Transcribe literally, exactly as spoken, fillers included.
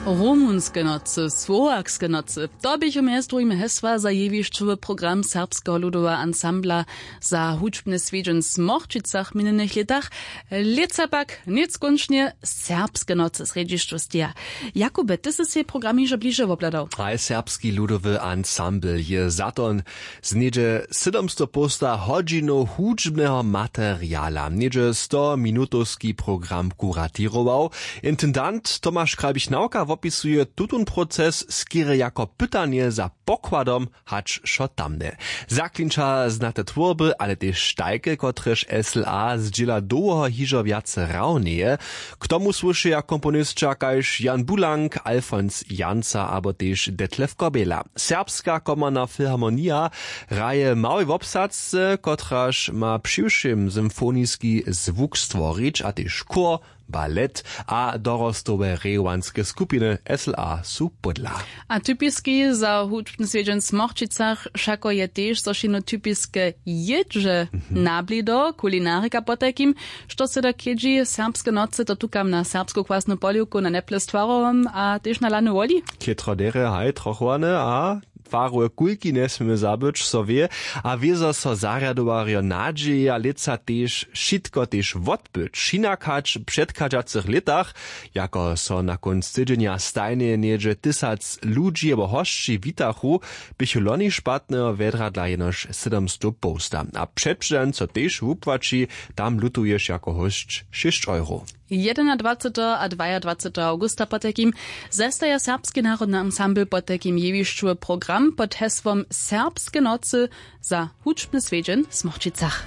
Rumunske nocy, słowarske nocy, to běchu mjez druhim hesła za jewišćowy program serbskeho ludoweho ansambla za hudźbny swjedźeń w smorćicach w minjenych lětach. Lětsa pak něckónčnje serbske nocy srjedźišću steja. Jakubje, ty sy sej program hižo bliže wobhladał. Haj, serbski ludowy ansambl je za to z něhdźe sydomstow połsta hodźinow hudźbneho materiala něhdźe sto minutowski program kuratěrował. Intendant tomaš krabich nawka wopisuje tutón proces skerje jako pytanje za pokładom, hač wšo tamne zaklinča znate twórby, ale tež tajke, kotrež sla zdźěla dołho hižo wjace hrało njeje. K tomu słyšeja komponisća kaž Jan Bulank, Alfons Janca abo tež Detlef Kobela. Serbska komorna filharmonija hraje w małej wobsadzce, kotraž ma přiwšěm symfoniski zwuk stworić, a tež chór, balet a dorostowe rejowanske skupiny sla su pódla. A typiski za hudźbny swjedźeń w smorćicach wšako je tež, zo šino typiske jědźe, nabli do kulinarika potajkim. Što se do chědźi serbske nocy, to tukam na serbsku kwasnu poliwku na neple z twarowom a tež na lany woli. Chětro derje, haj, trochowane a twarowe kulki njesměmy zabyć, so wě. A wězo so zarjadowarjo nadźeja lětsa tež wšitko tež wotbyć hinak hač w předchadźacych lětach. Jako so na kónc tydźenja stajnje něhdźe tysac ludźi abo hosći witachu, běchu loni špatneho wjedradla jenož sydomstow połsta a předpředań so tež wupłaći. Tam lutuješ jako hósć šěsć euro. Jedenadwaceteho a dwajadwaceteho awgusta potajkim zestaja serbski narodny ansambl potajkim jewišćowy program pod hesłom serbske nocy za hudźbny swjedźeń w smorćicach.